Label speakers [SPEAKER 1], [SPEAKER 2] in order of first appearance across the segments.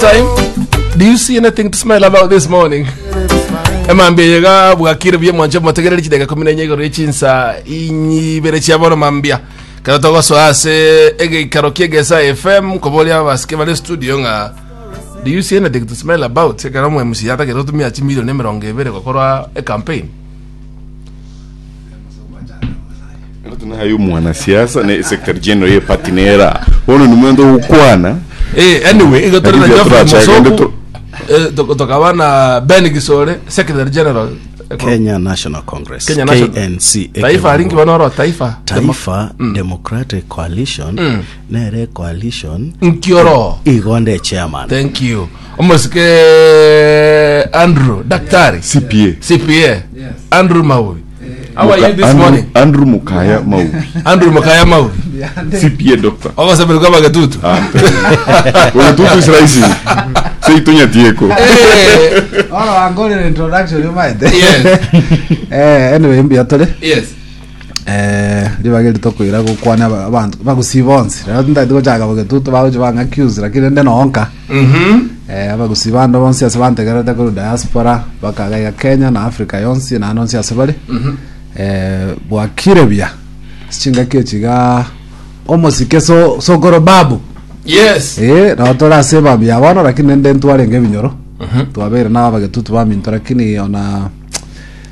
[SPEAKER 1] time. Do you see anything to smile about this morning? Emambia eye iga bwakire buya mwanche motegereri chidakika kumi na enye igoro y'echinsa inyibere chia bono mambia. Kero togosoa ase egeikaro kia Egesa FM koboria abasike bare studio ng'a do you see anything to smile about ekero omo MC atagete gotumia chimilioni emerongo ebere gokora ecampaign.
[SPEAKER 2] Naye omwanasiasa ne secretary general ye party nera bono nimwende ogokwana
[SPEAKER 1] Eh, anyway, igo tore na
[SPEAKER 2] Lakini
[SPEAKER 1] Geoffrey
[SPEAKER 2] turacha
[SPEAKER 1] Musoku,
[SPEAKER 2] gende tu-
[SPEAKER 1] eh, tokaba na Ben Gisore, Secretary General. Eh,
[SPEAKER 3] Kenya National Congress
[SPEAKER 1] Kenya National-
[SPEAKER 3] KNC
[SPEAKER 1] Taifa aringi bono oro Taifa.
[SPEAKER 3] Taifa Democratic Coalition nere coalition
[SPEAKER 1] Nkioro.
[SPEAKER 3] igonde chairman
[SPEAKER 1] Thank you. Omosike Andrew, Daktari.
[SPEAKER 2] CPA
[SPEAKER 1] CPA. Andrew Maui. How are you this
[SPEAKER 2] Andrew-
[SPEAKER 1] morning?
[SPEAKER 2] Andrew Mukaya Maubi
[SPEAKER 1] Andrew Mukaya Maui.
[SPEAKER 2] CPA doctor
[SPEAKER 1] Ogosabiri kwa bagetutu.
[SPEAKER 2] Ogetutu is rising seito nyatieko
[SPEAKER 1] Eh,
[SPEAKER 4] Oro wangorire introduction yumaete.
[SPEAKER 1] Yes.
[SPEAKER 4] Eh, anyway mbuya tore.
[SPEAKER 1] Yes.
[SPEAKER 4] Eh, ribaga eri tokoira gokwana aba- abanto bagusi bonsi. Rero tintagete gochaka bogetutu bagochi bang'a accuse lakini ende nonka.
[SPEAKER 1] Mhm.
[SPEAKER 4] Eh, abagusi bande bonsi ase bantegerete korwa diaspora bakaga iga Kenya na Africa yonsi naende onsi ase bare. Eh, bwakire buya. Ase chingaki echi igaa omosike so sokoro babu.
[SPEAKER 1] Yes.
[SPEAKER 4] Eh, nabo tore ase ebabu ya bono lakini ende ntwarenge ebinyoro. Twabeire na abagetutu baminto lakini ona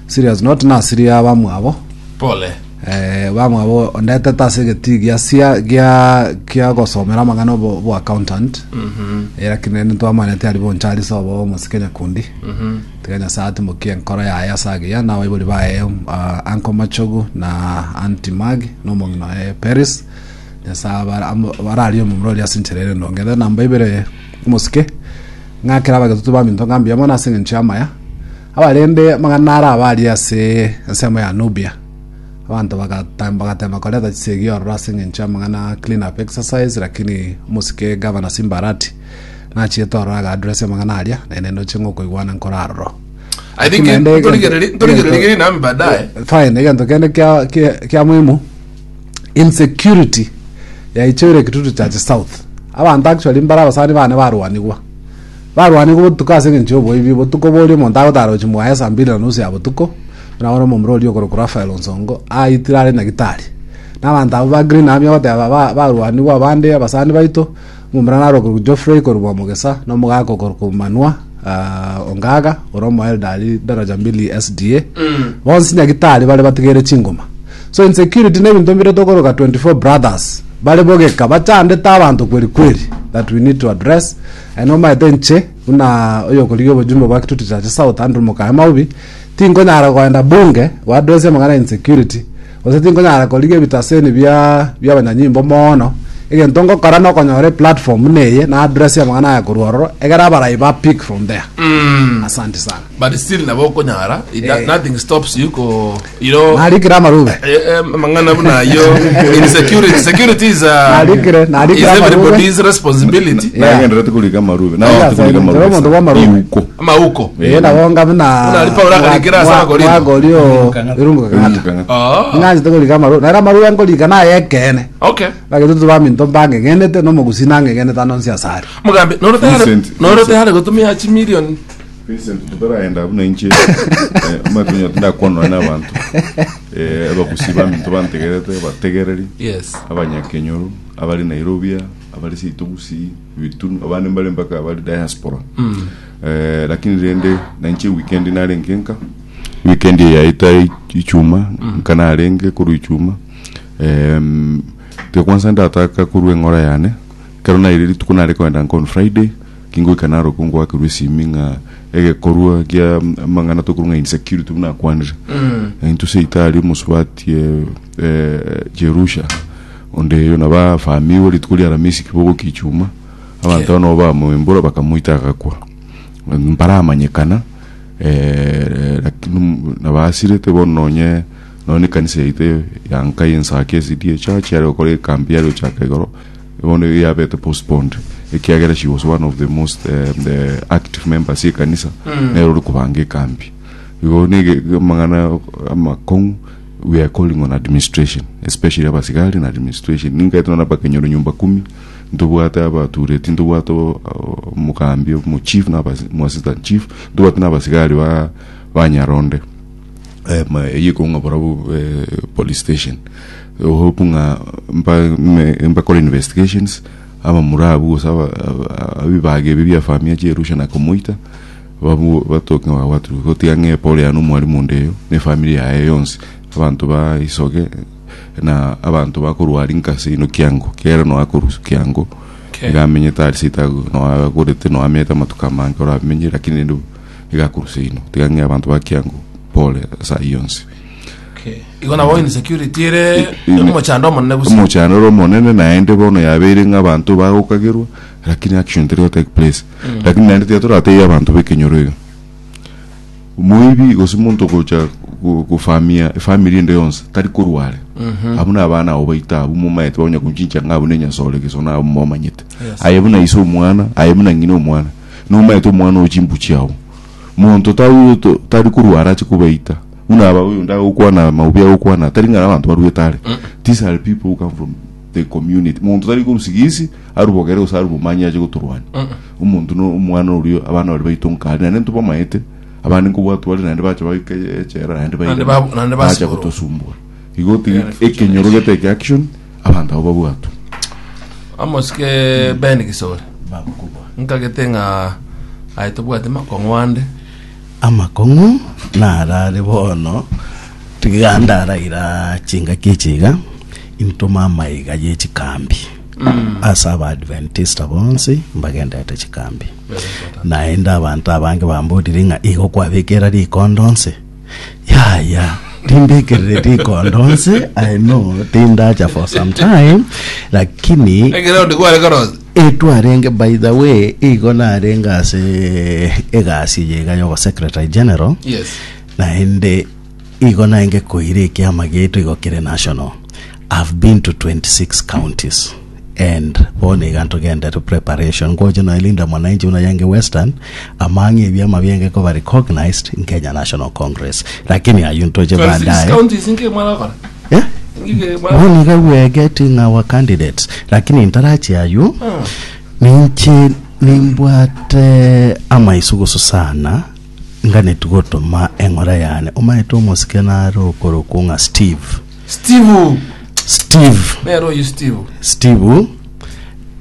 [SPEAKER 4] serious not nasiria abamwabo.
[SPEAKER 1] Pole.
[SPEAKER 4] Eh, bamwabo ondetete ase egetii gia sia gia kia gosomera amang'ana obo obo accountant eh, lakini rende ntwamanete aria bonchari sobo omosike nyakundi tiga nyasaye atimokie enkoro yaye ase agiya na abaibori baye uh, uncle machogu na auntie mag na omong'ina oye Paris nyasaye abara- amo- bararie omomura oria ase enchera ere endonge then namba ibere omosike ng'akere abagetutu baminto ng'a mbuya mono ase eng'encho y'amaya Abarende amang'ana naro abarie ase ensemo ya Nubia. Abanto bagata- bagatema koreta chisegi ororo ase engencho y'amang'ana a clean up exercise lakini omosike Gavana Simba Arati nachiete ororo aga address amang'ana aria naende ndoche ng'a okoigwana nkore aroro.
[SPEAKER 1] I think
[SPEAKER 4] Naende egento-
[SPEAKER 1] ntorigereri ntorigereri nami baadaye.
[SPEAKER 4] Fine, egento kende kia, kia, kia muhimu insecurity yaichoire Kitutu Church South. Abanto actually mbare abasani bane barwanigwa. Barwanigwe botuko ase engencho y'oboibi, botuko boria omonto agotara gochia mwaye saa mbili na nusu ya botuko, buna bono omomura oria okorokwa Rafael Onsongo aitire are nyagitari. Na abanto abwo ba Green Army ogoteba ba barwanigwe abande abasani baito, omomura naro okorokwa Geoffrey korwa Mwamogesa, na omogaka okorokwa Manua Ongaga, ore omoelder aria daraja mbili SDA, bonsi nyagitari bare batigeire chingoma. So insecurity na ebinto mbire tokoroka 24 brothers bare bogeka bachandete abanto kweri kweri that we need to address. Aye nomaete inche, buna oyokorigia obojumbe bwa Kitutu Chache South, Andrew Mokaya Maubi, tinkonyara koenda bunge goaddress amang'ana ya insecurity, gose tinkonyara korigia ebitaseni bia bi'abanyanyimbo moono. Egento ngokora nokonyora eplatform buna eye na address amang'ana aya korwa ororo, egere abarai ba pick from there. Asante sana.
[SPEAKER 1] But still nabo okonyara It-
[SPEAKER 4] Eh.
[SPEAKER 1] nothing stops you ko you know
[SPEAKER 4] Narikire amarube.
[SPEAKER 1] eh, eh, amang'ana buna ayo insecurity security is uh,
[SPEAKER 4] Narikire, narikire
[SPEAKER 1] is
[SPEAKER 4] amarube.
[SPEAKER 1] everybody's responsibility
[SPEAKER 4] Yeah.
[SPEAKER 2] nagenderete korika amarube
[SPEAKER 4] Yeah,
[SPEAKER 2] nagenderete korika
[SPEAKER 4] nchero
[SPEAKER 2] amarube
[SPEAKER 4] omonto bw'amarube.
[SPEAKER 2] Iuko.
[SPEAKER 1] amauko
[SPEAKER 4] Eh, nabo nga buna
[SPEAKER 1] Buna ari Paulo akarikera ase Abakorinto.
[SPEAKER 4] mwagorio irungu kang'ata.
[SPEAKER 2] Kang'ata.
[SPEAKER 1] Ah,
[SPEAKER 4] Ng'anchete korika amarube. Nere amarube nkorika naye ekeene.
[SPEAKER 1] okay
[SPEAKER 4] Bagetutu baminto mbang'egenete na omogusii nang'egenete ande onsi asare.
[SPEAKER 1] Mugambi noro tayari
[SPEAKER 2] Vincent,
[SPEAKER 1] noro
[SPEAKER 2] Vincent.
[SPEAKER 1] tayari gotumia chimilion
[SPEAKER 2] Vincent totaraenda buna inche eh, omanyete onye tindakwana nonya na abanto eh, abagusi baminto bantegerete abategereri
[SPEAKER 1] yes
[SPEAKER 2] abanyakenyoro abari Nairobi abari seito gusii bitunu abande mbare mpaka abari diaspora eh, lakini rende nainche weekend narenge nka weekend eye yaeta ichuma nka narenge korwa ichuma em, tiga kwanza ndataka korwa eng'ora yane ekero naire rituko nare kogenda nka on Friday Kingoika narokwo ngoakerwa esimi ng'a egekorwa kia amang'ana tokorwa ng'a insecurity buna akwanire. Intwe seito aria omosubati eh, Jerusha onde eyo nabo afamiwe rituko ria Aramisi kibogokia ichuma abanto aba nabo bamoimbora bakamoita agakwa. Mbaramanyekana eh, lakini nabo asirete bono nonye nonye ekanisa yaito ya nka ya Ensaki SDA Church yare gokora ekambi yare gochaka igoro Bono iga yabete postponed ekiagera she was one of the most the active members y'ekanisa nere ore kobanga ekambi. Igo nigo amang'ana amakong'u we are calling on administration especially abasigari na administration ninkaete nonya na abakenyoro nyumba kumi. Ntobwate abatureti, ntobwate omogambi, omochief na omo assistant chief, ntobwate na abasigari ba ba Nyaronde. Eyio ekong'a barabwo police station. Hope ng'a mba mbakore investigations, abamura abwo gose aba ebibaga ebi bia famia chierusha na komoita, babu batoke ng'a babwatirwe. Gotiga ng'a epore yane omwalimu onde eyo, na efamiri yaye yonsi, abanto ba isoge. na abanto bakorwa aria nka seino kiango, kera noe akorwa kiango,
[SPEAKER 1] Okay.
[SPEAKER 2] iga amenyete aria seito agwo, noe agorete, noe amenyete amatuko amange oramenye, lakini rende iga akorwa seino. Tiga ng'e abanto ba kiango pole ase ayio onsi.
[SPEAKER 1] Okay. Igo nabo insecurity ere
[SPEAKER 2] Ime-
[SPEAKER 1] omochando omonene gose.
[SPEAKER 2] Omochando ore omonene naende bono yabeire ng'a abanto bagokagerwa, lakini action teri go take place. Lakini naende tiga toratebie abanto b'ekenyoro iga. Omoibi gose omonto ogocha gofamia efamiri ende yonsi tari korwa are. Abwo na abana abo baito abwo momaete bagonya konchincha ng'a abwo ne enyasore gese na abwo momanyete.
[SPEAKER 1] Yes.
[SPEAKER 2] Aye buna ise omwana, aye buna ng'ina omwana, nomaete omwana oo chimbu chiao. Monto tari tari korwa are ache kobaita. Buna aba oyonde agokwana maobi agokwana tari ng'a abanto baruete are. These are people who come from the community. Monto tari korwa sigisi arwe bogere gose arwe bomanyi ache gotorwania. Omonto no omwana oria abana baria baito nkare naende ntobamaete abande nkobwatwa bare naende bacha baika echela naende
[SPEAKER 1] Naende
[SPEAKER 2] bairana
[SPEAKER 1] naende
[SPEAKER 2] bacha
[SPEAKER 1] basiborwa.
[SPEAKER 2] gotosumbua. Igo tiga
[SPEAKER 1] Very fortunate.
[SPEAKER 2] ekenyoro geteke action abanto abo babwatwe.
[SPEAKER 1] Amosike Ben Gisore.
[SPEAKER 3] Bakubwa.
[SPEAKER 1] Nkagete ng'a aye tobwate makong'u ande.
[SPEAKER 3] Amakong'u narare bono tiga ndaraira chingaki echi iga intome amaiga ye chikambi ase Abaadventista bonsi mbagenderete chikambi. Naende abanto abange bamborire ng'a igo kwabekera rikondo onsi? Yaya, timbekerere rikondo onsi, I know tindacha for some time, lakini
[SPEAKER 1] Ekeraundi kware korosi.
[SPEAKER 3] etwarenge by the way igo narenge ase egasi eye iga yobo secretary general
[SPEAKER 1] Yes.
[SPEAKER 3] naende igo naenge koira ekiama giaito igo kere national I've been to 26 counties and bono iga ntogenderete preparation ngoche nonya Linda Mwananchi buna yange Western among ebiama bienge koba recognized in Kenya National Congress lakini ayio ntoche
[SPEAKER 1] 26
[SPEAKER 3] baadaye
[SPEAKER 1] counties inke mwana gokora.
[SPEAKER 3] yeah?
[SPEAKER 1] Ngike mwana.
[SPEAKER 3] bono iga we are getting our candidates lakini ntarachi ayio ninche nimbwate amaisugusu sana nganeti gotoma eng'ora yane omaete omosike nare okorokwo ng'a Steve
[SPEAKER 1] Steve.
[SPEAKER 3] Steve
[SPEAKER 1] Nero oyo Steve.
[SPEAKER 3] Steve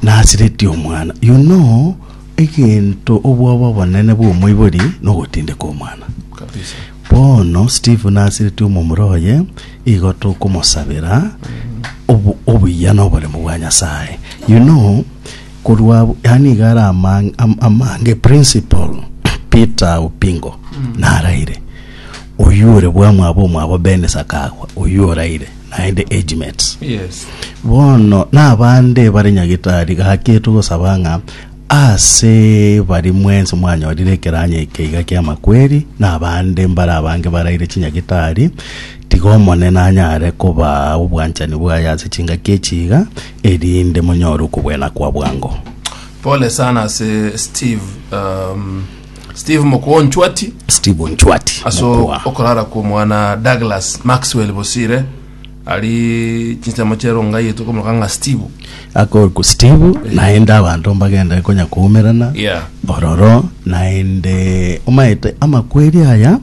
[SPEAKER 3] nasiretie omwana you know egento obwoba obonene bwa omoibori nogotindeka omwana
[SPEAKER 1] Kabisa.
[SPEAKER 3] bono Steve nasiretie omomura oye igo tokomosabera obu- obuya na oboremo bwa Nyasaye you know korwa abwo yaani iga are amang- am- amange principal Peter Opingo naraire Oyio ore bwamwabo omwabo Ben Sakagwa, oyio oraire, naende age mates.
[SPEAKER 1] Yes.
[SPEAKER 3] Bono nabande bare nyagitari gaki togosaba ng'a ase bari mwensi mwanyorire ekeranya eke iga ki'amakweri, na abande mbare abange baraire chinyagitari, tiga Omonene anyare kobaa obwanchani bwaye ase chingaki echi iga, erinde monyore okobwena kwa bwango.
[SPEAKER 1] Pole sana ase Steve um, Steve Mokua Onchwati
[SPEAKER 3] Steve Onchwati
[SPEAKER 1] ase
[SPEAKER 3] Mokua.
[SPEAKER 1] okorara kwa omwana Douglas Maxwell Bosire ari chinsemo chia eronga yetu komoroka ng'a Steve.
[SPEAKER 3] Akorokwa Steve naende abanto mbagende konya koumerana
[SPEAKER 1] Yeah.
[SPEAKER 3] ororo naende omaete amakweri aya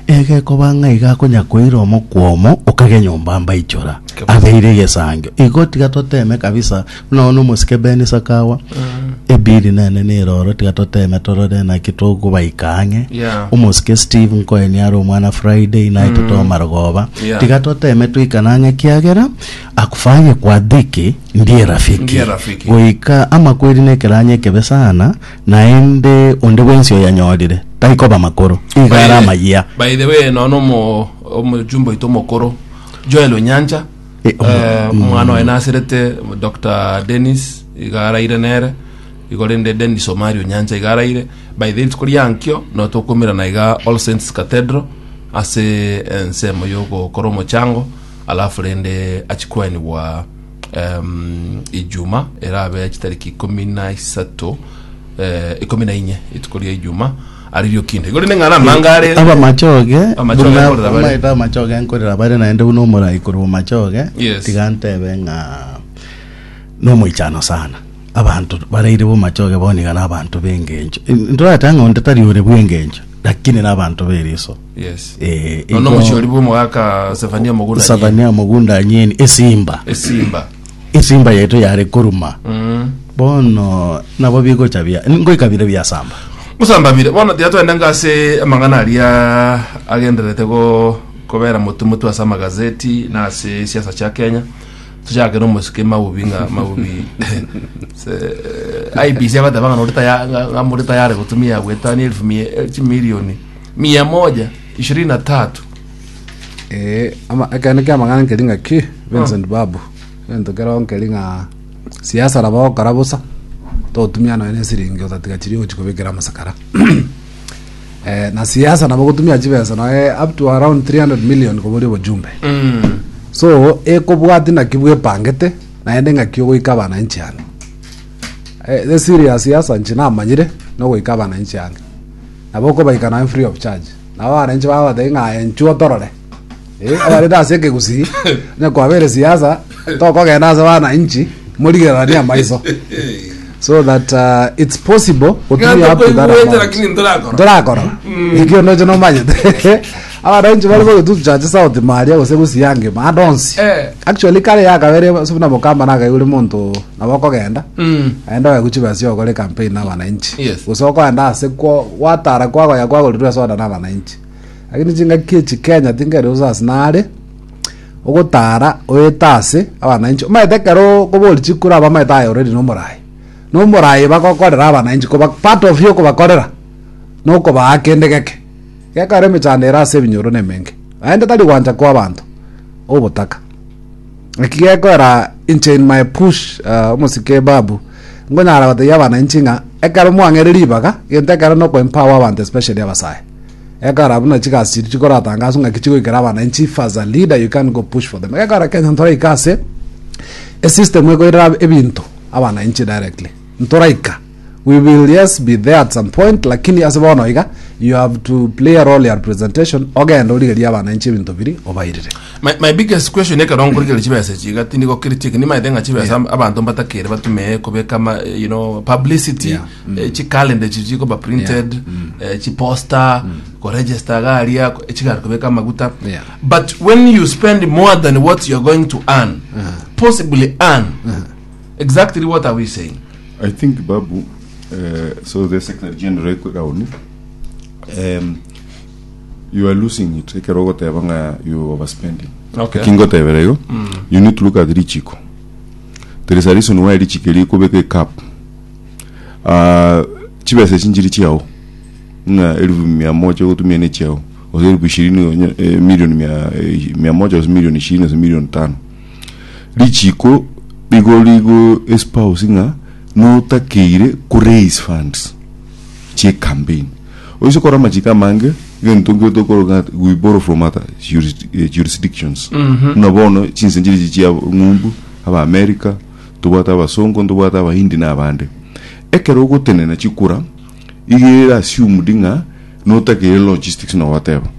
[SPEAKER 3] egekoba ng'a iga akonya koira omokwomo okage nyomba mbaichora
[SPEAKER 1] Kabisa.
[SPEAKER 3] abeire egesangio igo tiga toteme kabisa Buna bono omosike Ben Sakawa, ebiri nene nere oro tiga toteme torore naki tokobaika ang'e.
[SPEAKER 1] Yeah.
[SPEAKER 3] Omosike Steve nkoeni are omwana Friday night tomarogoba.
[SPEAKER 1] Yeah.
[SPEAKER 3] Tiga toteme toikane ang'e kiagera akufaye kwa dhiki ndiye rafiki.
[SPEAKER 1] Ndiye rafiki.
[SPEAKER 3] Goika amakweri nekeranya ekebe sana naende onde bwensi oyanyorire taikoba makoro iga are amayia.
[SPEAKER 1] By the way, nono omo omojumbe oito omokoro Joel Onyancha
[SPEAKER 3] Eh,
[SPEAKER 1] Eh, omwana oye nasirete Dr. Dennis iga araire nere igo rende Dennis Omari Onyancha iga araire by the rituko riankio no tokomirana iga All Saints Cathedral ase ensemo yogokora omochango alafu rende achikwenigwa um, ijuma erabe chitariki ikumi na isato eh, ikumi na inye rituko ria ijuma Aririo kinde. Igo rende ng'ana amanga are.
[SPEAKER 3] Abamachoge
[SPEAKER 1] Amachoge
[SPEAKER 3] buna
[SPEAKER 1] nkorera bare.
[SPEAKER 3] omaete amachoge nkorera bare naende buna omorai korwa bomachoge
[SPEAKER 1] Yes.
[SPEAKER 3] tiga ntebe ng'a nomoichano sana. Abanto baraire bomachoge bono iga nabanto b'engencho. Ntorate ng'a onde tari ore bw'engencho, lakini nabanto b'eriso.
[SPEAKER 1] Yes.
[SPEAKER 3] Eh,
[SPEAKER 1] Nono
[SPEAKER 3] igo-
[SPEAKER 1] omochiori bw'omogaka Sefania Mogunda.
[SPEAKER 3] Sefania Mogunda Anyeni, esimba.
[SPEAKER 1] Esimba.
[SPEAKER 3] Esimba yaito yare koruma.
[SPEAKER 1] Mm.
[SPEAKER 3] Bono nabo bigocha bia ngoika bire biasamba.
[SPEAKER 1] Gosamba bire bono tiga twende ngase amang'ana aria agendererete go kobera motu motu ase amagazeti na ase siasa chia Kenya tochake na omosike Mabubi ng'a Mabubi se IEBC abateba ng'a nori taya ng'a ng'a muri tayari gotumia goetania elfu mia eh, chimilioni mia moja ishirini na tatu
[SPEAKER 4] Eh, ama ekene kia amang'ana nkeri ng'aki Vincent Babu egento kero nkeri ng'a siasa nabo ogokora bosa togotumia nonya na esiringi otatiga chiria ogochi kobekera amasakara eh, na siasa nabo ogotumia chibesa noe up to around 300 million koboria obojumbe so ekobwati naki bwepangete naende ng'aki ogoika abananchi ange eh, the serious siasa inche namanyire nogoika abananchi ange nabo okobaika nonya free of charge nabo abananchi bagobatebia ng'a aye inchuo otorore Eh, abarende ase ekegusii onye kwabere siasa tokogenda ase abananchi morigereranie amaiso so that uh, it's possible gotumia up to that
[SPEAKER 1] Koigwete
[SPEAKER 4] amount.
[SPEAKER 1] lakini ntorakora.
[SPEAKER 4] ntorakora ekio nocho nomanyete abananchi bari bogetutu chache south maria gose gusii angima ande onsi
[SPEAKER 1] Eh.
[SPEAKER 4] actually kare yakabere ase buna mokamba nakaigure monto nabo okogenda
[SPEAKER 1] Mm.
[SPEAKER 4] aende oegwe chibesa chia ogokora ecampaign na abananchi
[SPEAKER 1] Yes.
[SPEAKER 4] gose okoenda ase kwo gwatara kwagoya kwagorirwe esoda na abananchi Lakini chingaki echi Kenya tinkeri gose ase nare, ogotara oete ase abananchi omanyete ekero okobori chikura abamaete aye already nomoraai, nomoraai bagokorera abananchi koba part of yokobakorera nokobaa kende geke. Gekogera emechando ere ase ebinyoro na emenge, naende tari gwancha kwa abanto, obotaka. Eki gekogera inche in my push omosike Babu, nkonyara gotebia abananchi ng'a ekero mwang'eire ribaga, egento ekero noko empower abanto especially abasae. Ekara buna chigasi chiria chikoratangaswa ng'aki chigoikera abananchi if as a leader you can't go push for them. Ekara Kenya ntoraika ase esystem ekoirera ebinto abananchi directly. Ntoraika. We will yes be there at some point lakini ase bono iga you have to play a role ya representation ogende origerie abananchi ebinto biri obairire.
[SPEAKER 1] My, my biggest question ekero nkorigereria chibesa echi iga tindi gokritik nimaete ng'a chibesa abanto mbatakere batumee kobeka ama, you know, publicity
[SPEAKER 4] Yeah.
[SPEAKER 1] eh, chicalendar echi chikoba printed eh, chiposter koregister iga aria ko- chigari kobeka amaguta
[SPEAKER 4] Yeah.
[SPEAKER 1] but when you spend more than what you're going to earn possibly earn exactly what are we saying
[SPEAKER 2] I think Babu, uh, so the Secretary General Raoni, um, you are losing it. Ekero ogoteba ng'a you overspending.
[SPEAKER 1] Okay.
[SPEAKER 2] Ekingotebera igo, you need to look at richiko. There is a reason why richiko rikobeka ecap. Ah, chibesa echi nchiri chiao ng'a elfu mia moja ogotumia ne chiao gose elfu ishirini onye eh, milioni mia, eh, mia moja gose milioni ishirini gose milioni tano richiko rigo rigo espouse ng'a notakeire ko raise funds chie campaign oise kora amachiko amange egento nkere tokoroka ng'a we borrow from other juris- eh, jurisdictions buna bono chinse nchiri chia ng'umbu aba America Ntobwate abasongo, ntobwate abahindi na abande. Ekero ogotenena chikura, iga ere assumed ng'a notakeire logistics na whatever.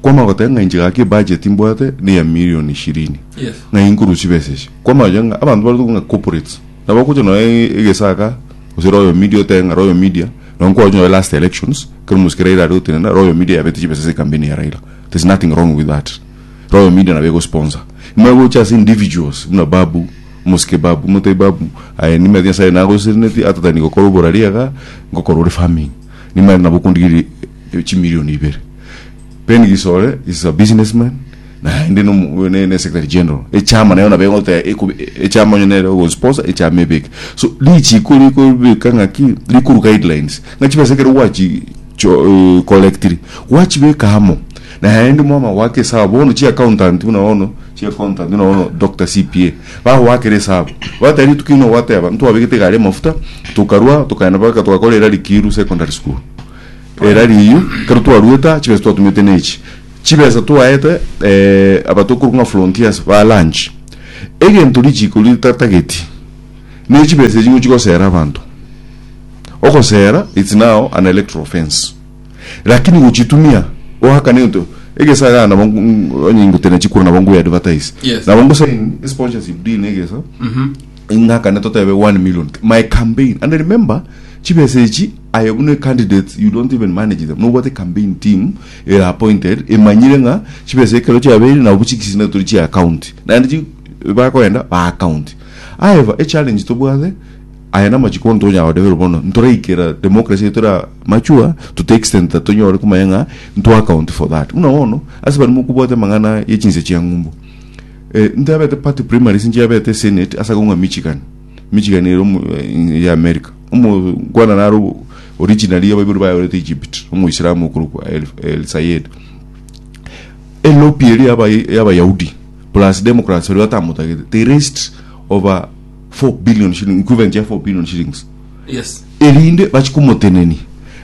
[SPEAKER 2] Kwamanya goteba ng'a inche gaki ebudget mbwate ne ya million ishirini.
[SPEAKER 1] Yes.
[SPEAKER 2] Ng'ai nkorusia chibesa echi. Kwamanya ng'a abanto bare tokong'a corporates, nabo ogocha nonya egesaka gose Royal Media otebe ng'a Royal Media, nonye nkwaroche nonya last elections, ekero omosike Raila are gotenena, Royal Media yabete chibesa ase ecampaign ya Raila. There's nothing wrong with that. Royal Media nabo egosponsor. Nimanye gocha ase individuals buna Babu, Omosike Babu, motebi Babu, aye nimanyete Nyasaye nagoseseneti atatani gokora oborari iga, ngokora ore farming. Nimanyete nabo okondigeria chimilioni ibere. Ben Gisore is a businessman, naende nomo ne ne secretary general. Echama nayo nabo egoteba ekobe echama onye nere ogosponsor echama ebeke. So richiko rikobeka ng'aki, rikoru guidelines, ng'a chibesa ekero gwachi cho collectiri, gwachibeka amo, Naende mwama goaka esabu bono chi accountant buna bono chi accountant buna bono Doctor CPA bagoakera esabu bateba rituko ino gwateba ntwabegete egari amafuta tokarwa tokaenda mpaka togakora erari Kiru secondary school erari eywo ekero twaruete aa chibesa twatumete na echi chibesa twaete aba tokorwa ng'a frontiers ba lunch egento richiko ritatageti ne chibesa echi ngochi gosera abanto ogosera it's now an electoral offence. Lakini gochitumia oakane egento egesa igaa nabo onye ingotena chikura nabo ngoe advertise
[SPEAKER 1] Yes.
[SPEAKER 2] nabo ngosign sponsorship deal na egesa. Ing'akane totebe 1 million. My campaign. And remember, chibesa echi aye buna candidate you don't even manage them. Nobwate campaign team ere appointed emanyire ng'a chibesa ekero chiabeire nabo chikisina tori chia account. Naende chi bakoenda ba account. However, e challenge tobwate aya namachiko ntonyara godevelop bono ntoraikera democracy yaito era mature to the extent that tonyore komanya ng'a nto account for that. Buna bono ase baria mokobwate amang'ana ye chinse chia ng'umbu. Eh, ntabete party primaries nchiabete senate ase akong'a Michigan. Michigan ere omo eh, ya America. Omokwana naro originally abaibori baye barete Egypt, omoislamu okorokwa El, El Sayed. Elobi eria yaba y'Abayahudi plus Democrats baria batamotagete, they raised over 4 billion shillings, equivalent ya 4 billion shillings.
[SPEAKER 1] Yes.
[SPEAKER 2] Erinde bachie komotenenia.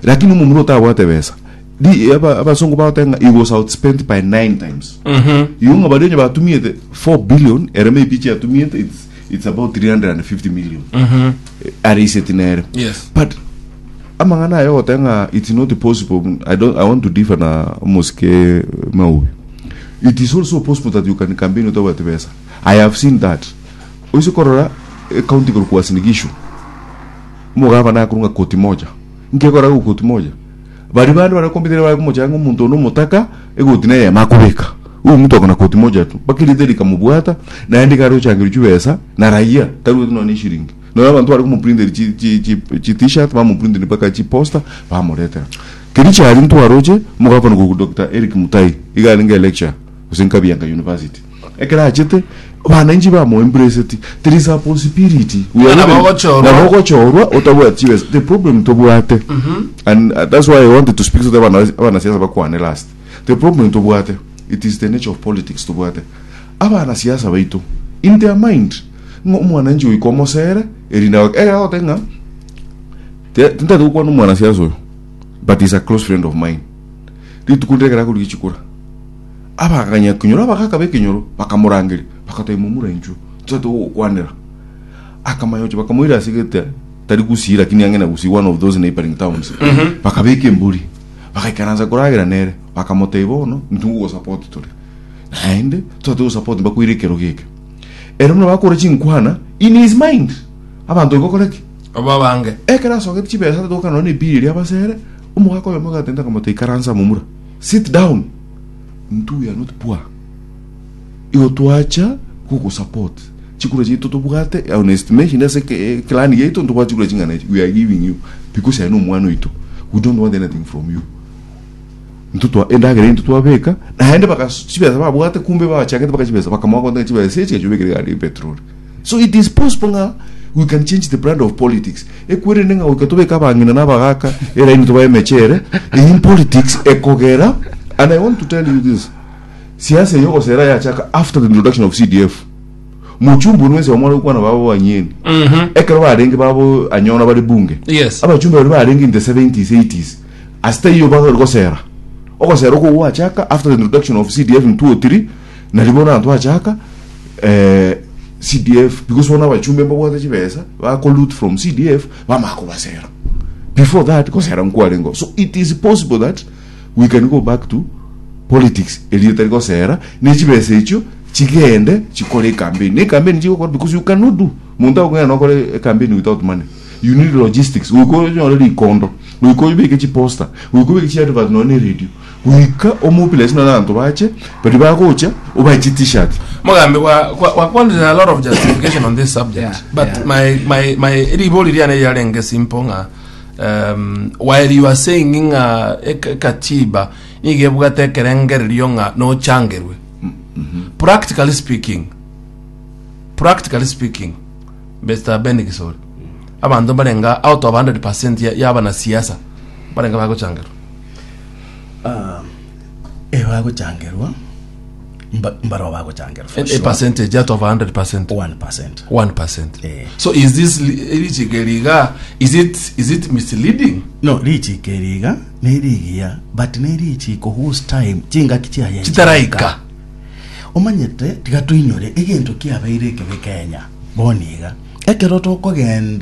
[SPEAKER 2] Lakini omomura otabwate besa, Ri- aba- abasongo bagoteba ng'a he was outspent by 9 times. Igo ng'a baria onye batumiete 4 billion, ere maybe chiatumiete it's, it's about 350 million. Eh, areiseti nere.
[SPEAKER 1] Yes.
[SPEAKER 2] But amang'ana aya ogoteba ng'a it's not possible, I don't, I want to differ na omosike Maubi. It is also possible that you can campaign otabwati besa. I have seen that. Oise korora ecounty korwa Uasin Gishu, omogabana akorwa ng'a koti moja. Nkekora gokoti moja. Baria bande bare kombitera bare komochaya ng'a omonto one omotaka, egoti neyemo akobeka. Huyu mtu ako na koti moja tu. Mpaka erieta rikamobwata, naende iga arochangerwa chibesa na raia, tarueti nonya ne eshiringi. Nonya abanto bare komoprinteri chi chi chi chi t-shirt, bamoprinteri mpaka chiposter, bamoretera. Keria chiaria ntwaroche, omogavana korwa Doctor Eric Mutai, iga arenge electurer, gose Nkabianga University. Ekero achete, abananchi bamoembraceti. There is a possibility. We are
[SPEAKER 1] Nabo
[SPEAKER 2] not-
[SPEAKER 1] ogochorwa.
[SPEAKER 2] nabo ogochorwa otabwati chibesa. The problem tobwate. And that's why I wanted to speak to the abana abanasiasa bakwane last. The problem tobwate, it is the nature of politics tobwate. Abanasiasa baito, in their mind, ng'a omwananchi goika omosere, erinde agoke. Ekero agoteba ng'a, te- tintagete gokwana omwanasiasa oyo, but he's a close friend of mine. Rituko rire ekero akorigia chikura, Abaganyakenyoro abagaaka b'ekenyoro bakamorangeria, bagatebia momura inchuo, tochake gogokwanera. Akamanya gochia bakamoira ase gete tari Gusii lakini ang'e na Gusii one of those neighboring towns. Bakabeka embori, bagaikaransa koragera nere, bakamotebia bono intwe ngogosupport tore. Naende tochake gosupport mbakoire ekerogo eke. Ere buna bakora chinkwana in his mind, abanto gokora ki?
[SPEAKER 1] Obabange.
[SPEAKER 2] Ekero asogete chibesa tatoka nonya na ebill eria abasere, omogaka oyomo agatenta akamotebia ikaransa momura, sit down. Intwe we are not poor. Igo twacha gogosupport chikura chiaito tobwate on estimation ase eke- eclan yaito ntobwate chikura ching'ana echi we are giving you because aye nomwana oito we don't want anything from you. Intwe twa endagera intwe twabeka naende bagas chibesa babwate kumbe babachangete mpaka chibesa bakamoa gotenga chibesa echi gachobekire egari ya petrol. So it is possible ng'a we can change the brand of politics. Ekwerende ng'a goika tobeke abang'ina na abagaka eraini tobae emechere, in politics ekogera and I want to tell you this, siasa eye ogosera yachaka after the introduction of CDF. Mochumbe onwe ense omware gokwana babo banyeni. Ekero barenge babo anyona bare bunge.
[SPEAKER 1] Yes.
[SPEAKER 2] Abachumbe baria barenge in the 70s 80s ase taiyo bagari gosera. Ogosera okwo gwachaka after the introduction of CDF in 2003 nari bono abanto bachaka eh, CDF because bono abachumbe mbabwate chibesa bako loot from CDF bamanya kobasera before that gosera nkwarengeo so it is possible that we can go back to politics eria etari gosera ne chibesa echio chigende chikore ecampaign ne ecampaign chigokora because you cannot do monto agokogenda nokore ecampaign without money you need logistics goika onyore rikondo goika obeke chiposter goika obeke chiadvert nonya ne radio Goika omobilise nonya abanto bache, baria bagocha, obae chi-t-shirt.
[SPEAKER 1] Mogambi wa kwa wakwanire a lot of justification on this subject
[SPEAKER 4] Yeah,
[SPEAKER 1] but
[SPEAKER 4] yeah.
[SPEAKER 1] my my my ribori riane riarenge simple ng'a while you are saying ng'a ekatiba nigo ebwate ekerengererio ng'a nochangerwe practically speaking practically speaking Mr. Ben Gisori abanto mbarenga out of 100% ya- ya abanasiasa mbarenga bagochangerwa
[SPEAKER 3] Ah, eh, bagochangerwa mba- mbaroo bagochangerwa for
[SPEAKER 1] A
[SPEAKER 3] sure.
[SPEAKER 1] percentage out of 100%.
[SPEAKER 3] 1%.
[SPEAKER 1] 1%.
[SPEAKER 3] Eh.
[SPEAKER 1] So is this li- richiko riga is it is it misleading?
[SPEAKER 3] no richiko eri iga nerigiya but nerichiko whose time chingaki chiaye
[SPEAKER 1] Chitaraika.
[SPEAKER 3] omanyete tiga toinyore egento kiabeire ekebe kenya bono iga ekero tokogenda.